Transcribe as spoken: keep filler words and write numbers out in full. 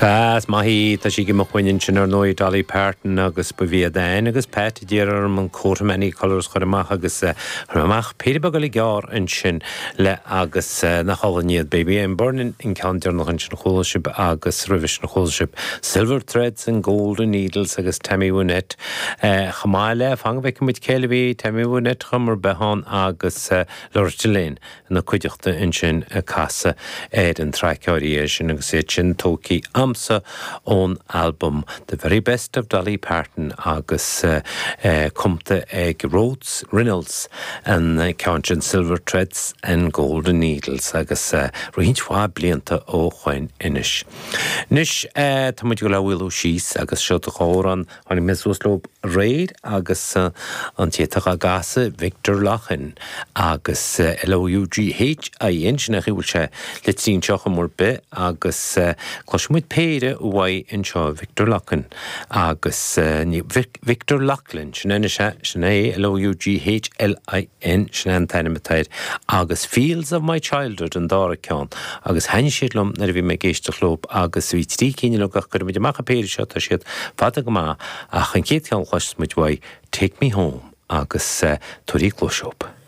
Sea, is maith í, tá sí go maith ansin ar ndóigh Dolly Parton agus ba iad Ann agus Pat a d'iarr orm an Coat of Many Colours chur amach agus chur amach péire beag eile gearr ansin le agus nach álainn iad Baby I'm Burning an ceann deireanach ansin chuala sibh agus roimhe sin chuala sibh Silver Threads and Golden Needles agus Tammy Wynette chomh maith le fan go bhfeicfidh muid cé eile a bhí Tammy Wynette chomh mar behan agus Loretta Lynn ina cuideachta ansin ag casadh ar an traic áirithe sin agus iad sin tógtha agamsa ón album The Very Best of Dolly Parton agus uh, uh, cumtha ag Rhodes Reynolds an ceann sin Silver Threads and Golden Needles agus uh, roinnt mhaith blianta ó shoin anois. Anois uh, tá muid go bhfuil síos agus seo do chóran tháinig mé suas leo aréir agus uh, an téach a gasa Victor Loughin agus uh, L-O-U-G-H-I-N sin a bhfuil sé le trín seocha mór be agus uh, cloisfimid péire uaidh anseo Victor Loughin agus uh, Victor Loughlin sin é sin é L-O-U-G-H-L-I-N sin an t-ainm atá air agus Fields of My Childhood an dara ceann agus thaitnigh siad liom nuair a bhí mé ag éisteacht leo agus bhí trí cinn le gach chuir muid amach an péire seo tá siad fada go maith ach an chéad cheann cloisfimid uaidh Take Me Home agus uh, turí cloiseop.